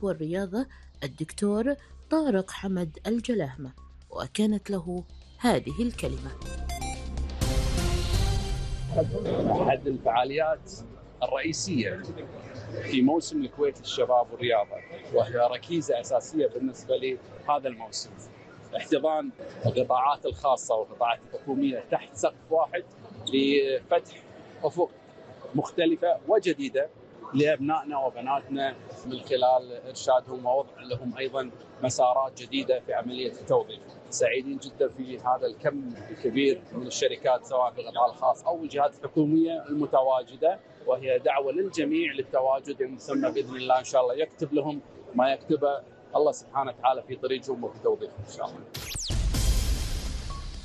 والرياضة الدكتور طارق حمد الجلاهمة، وكانت له هذه الكلمة. أحد الفعاليات الرئيسية في موسم الكويت للشباب والرياضة، وهي ركيزة أساسية بالنسبة لهذا الموسم، احتضان القطاعات الخاصة والقطاعات الحكومية تحت سقف واحد لفتح أفق مختلفة وجديدة لأبنائنا وبناتنا من خلال إرشادهم ووضع لهم أيضا مسارات جديدة في عملية التوظيف. سعيدين جدا في هذا الكم الكبير من الشركات سواء في القطاع الخاص أو الجهات الحكومية المتواجدة، وهي دعوة للجميع للتواجد المسمى بإذن الله إن شاء الله يكتب لهم ما يكتبه الله سبحانه وتعالى في طريقهم وفي توظيفهم إن شاء الله.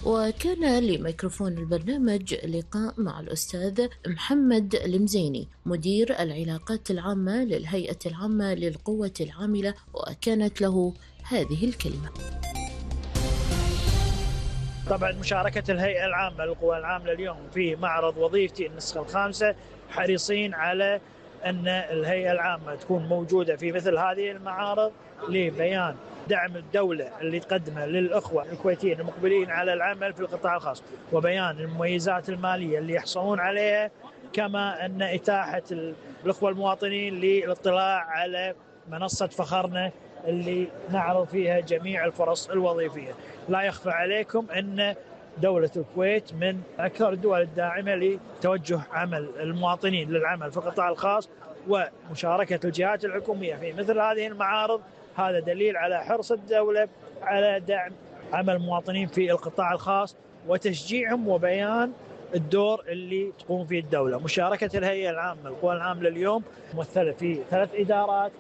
وكان لميكروفون البرنامج لقاء مع الأستاذ محمد المزيني مدير العلاقات العامة للهيئة العامة للقوة العاملة، وكانت له هذه الكلمة. طبعا مشاركة الهيئة العامة للقوى العاملة اليوم في معرض وظيفتي النسخة الخامسة، حريصين على أن الهيئة العامة تكون موجودة في مثل هذه المعارض لبيان دعم الدولة اللي تقدمه للأخوة الكويتيين المقبلين على العمل في القطاع الخاص، وبيان المميزات المالية اللي يحصلون عليها، كما أن إتاحة الأخوة المواطنين للاطلاع على منصة فخرنا اللي نعرض فيها جميع الفرص الوظيفية. لا يخفى عليكم أن دولة الكويت من أكثر الدول الداعمة لتوجه عمل المواطنين للعمل في القطاع الخاص، ومشاركة الجهات الحكومية في مثل هذه المعارض هذا دليل على حرص الدولة على دعم عمل المواطنين في القطاع الخاص وتشجيعهم وبيان الدور اللي تقوم فيه الدولة. مشاركة الهيئة العامة للقوى العاملة اليوم ممثلة في 3 إدارات: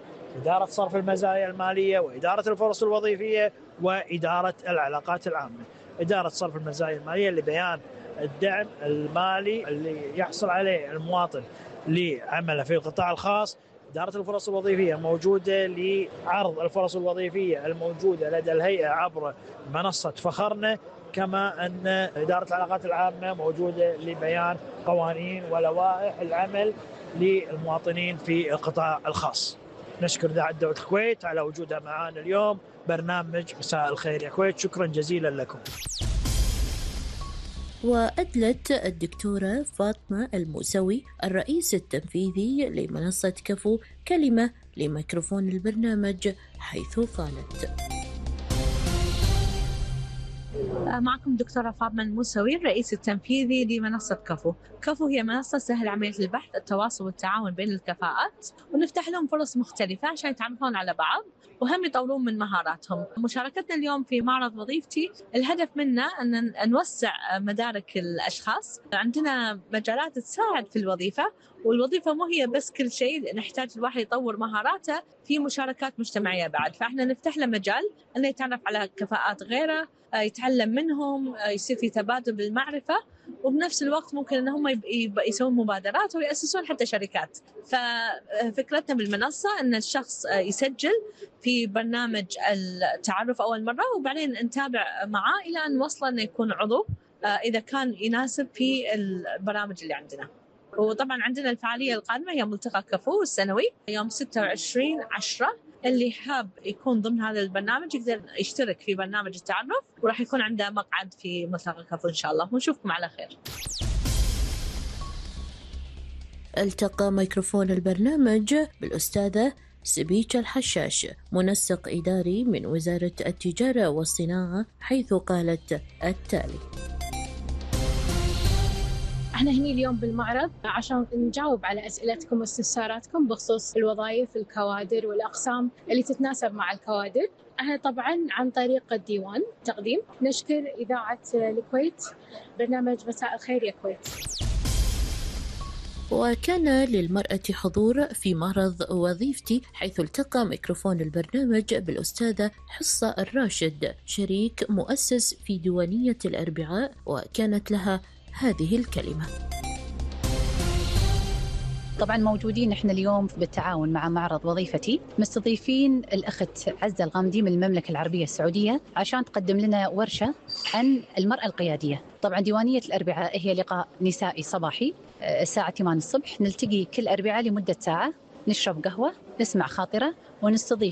إدارة صرف المزايا المالية، وإدارة الفرص الوظيفية، وإدارة العلاقات العامة. إدارة صرف المزايا المالية لبيان الدعم المالي اللي يحصل عليه المواطن لعمله في القطاع الخاص. إدارة الفرص الوظيفية موجودة لعرض الفرص الوظيفية الموجودة لدى الهيئة عبر منصة فخرنا، كما أن إدارة العلاقات العامة موجودة لبيان قوانين ولوائح العمل للمواطنين في القطاع الخاص. نشكر إذاعة دولة الكويت على وجودها معنا اليوم برنامج مساء الخير يا كويت. شكرا جزيلا لكم. وأدلت الدكتورة فاطمة الموسوي الرئيس التنفيذي لمنصة كفو كلمة لميكروفون البرنامج، حيث قالت: معكم دكتورة فاطمة الموسوي الرئيس التنفيذي لمنصة كفو. كفو هي منصة تسهل عملية البحث، التواصل والتعاون بين الكفاءات، ونفتح لهم فرص مختلفة عشان يتعرفون على بعض وهم يطورون من مهاراتهم. مشاركتنا اليوم في معرض وظيفتي الهدف منه أن نوسع مدارك الأشخاص. عندنا مجالات تساعد في الوظيفة، والوظيفة مو هي بس كل شيء، نحتاج الواحد يطور مهاراته في مشاركات مجتمعية بعد. فإحنا نفتح له مجال أنه يتعرف على كفاءات غيره، يتعلم منهم، يصير في تبادل بالمعرفة، وبنفس الوقت ممكن أنهم يسوون مبادرات ويأسسون حتى شركات. ففكرتنا بالمنصة أن الشخص يسجل في برنامج التعرف أول مرة، وبعدين نتابع معاه إلى أن نوصل أنه يكون عضو إذا كان يناسب في البرامج اللي عندنا. وطبعا عندنا الفعالية القادمة هي ملتقى كفو السنوي يوم 26/10. اللي حاب يكون ضمن هذا البرنامج يقدر يشترك في برنامج التعرف، وراح يكون عنده مقعد في ملتقى كفو إن شاء الله. ونشوفكم على خير. التقى ميكروفون البرنامج بالأستاذة سبيكة الحشاش منسق إداري من وزارة التجارة والصناعة، حيث قالت التالي: احنا هني اليوم بالمعرض عشان نجاوب على أسئلتكم واستفساراتكم بخصوص الوظائف، الكوادر والأقسام اللي تتناسب مع الكوادر. احنا طبعا عن طريق الديوان تقديم نشكر إذاعة الكويت برنامج مساء الخير يا كويت. وكان للمرأة حضور في معرض وظيفتي، حيث التقى ميكروفون البرنامج بالأستاذة حصة الراشد شريك مؤسس في ديوانية الأربعاء، وكانت لها هذه الكلمة: طبعا موجودين احنا اليوم بالتعاون مع معرض وظيفتي، مستضيفين الأخت عزة الغامدي من المملكة العربية السعودية عشان تقدم لنا ورشة عن المرأة القيادية. طبعا ديوانية الأربعاء هي لقاء نسائي صباحي الساعة 8 الصبح، نلتقي كل أربعاء لمدة ساعة نشرب قهوة، نسمع خاطرة، ونستضيف